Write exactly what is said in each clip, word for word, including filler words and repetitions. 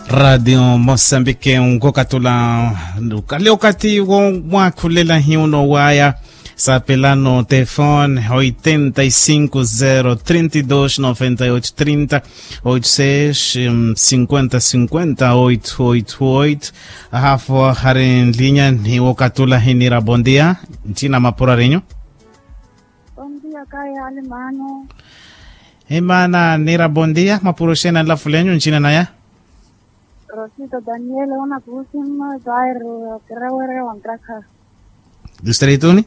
Raatiyo mosambike nkokatula. Kale okathi womwaakhulela hiyo nowaya. Sapelano telefone oitenta e cinco zero trinta e dos noventa e oito trinta, oito seis cinquenta cinquenta oito oito oito. Ahafo hari nlinya ni wokatula hinira bondia. Nchina mapura rinyu. Bondia kaya alimano. Imana nira bondia mapura oxena nlafulenyu nchina naya. Rosita daniel onakuusimma zaire. Kirawere wantrakha. Distrituni.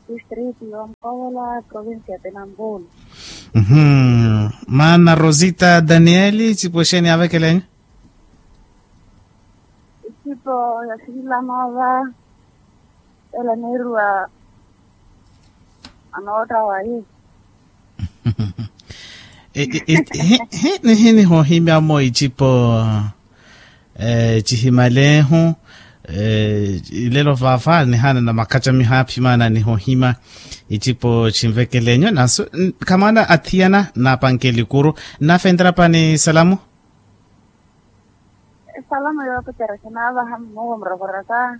Distrito ya mkovola provincia ya tenambulu. Mana rosita daniel icipo exeni avekelenyu. Icipo ya sivilama va. Ela neeruwa anootta wayi. Nihini hohimyamo icipo cihimalehu. Ilelo vaava nihana na makhaca mihaaphimana nihohima icipo cinvekelenyu nasu. Khamana athiyana napanke likuru. Nafentera pani salamu. Esalamu yoopekerya kinaavaha mmuwo murokoraka.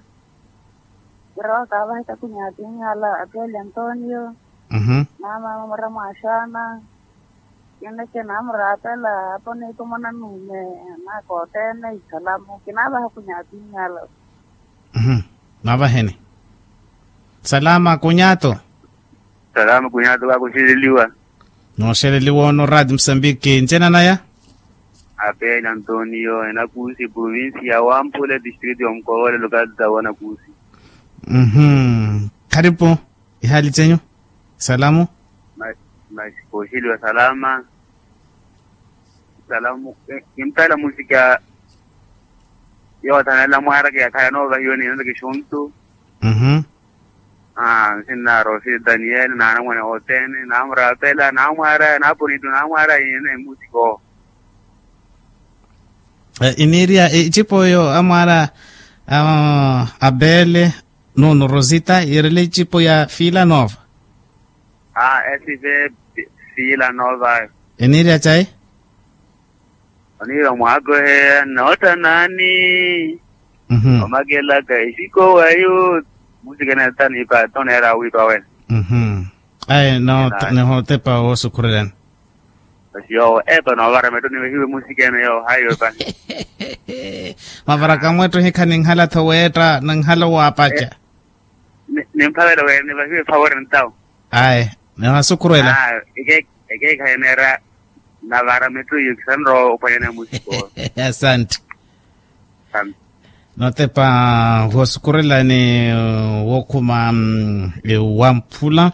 Kirowa kaavaha etakunyaatinyala apeli antonio. Naamaama mura mwaxaana. Kineke naamuraapela apo niitumona nuume. Naakoottene isalamu kinaavaha kunyatinyala. Naavaheni. Salama kunyaato. Salama kunyaato kaakuxeleliwa. Nooxeleliwa ono rati musambiki ncena naya. Apeli antonio enakusi provincia ya wampula distrito ya mukovola lokalita wanakusi. Kharipu. Ihali cenyu. Salamu. Masi kooxeliwa salama. Salamu. Kimpela musika. Yoothanela mwaraka yakhala noovahiwa ni nantaki xuntu. Nsinna rosi daniel naanamwane othene naamuraapela naamwaaraya naaponitu naamwaaraya yene musika owo. Iniiriya icipo oyo amwaara. Abele. Nuno rosita yiirele icipo ya fila nova. Aa esive. Fila nova. Iniiriya cayi. Oniira omwaakoheya noottanaani. Omakelaka exikowayu. Musikene tanipa toneera awiipa wene. Ayi nihootepa woosukhurelani. Basi yoowo epa noovara metto nivehiwe musikene yoowo haiwe pani. Mavaraka mwetto hikha ninhala tho weetta ninhala waapaca. Nimphavela wene nivahiwe favori ntawo. Ayi. Nihasukhurela. Ekeekhayi neera. Navara metto iyo kisanrowa ophwanyana musiko. Asante. Notepa woosukurelani wookhuma. Wamphula.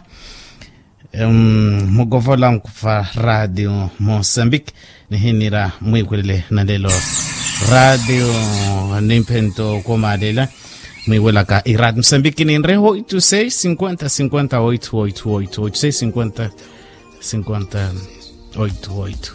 Mukovola nkufa radio mosambiki. Nihinira mwiiwelele nalelo. Radio. Nimphento koomalela. Mwiiwelaka iradio mosambiki ninre oito seis cinquenta cinquenta oito oito oito oito seis cinquenta cinquenta oito oito.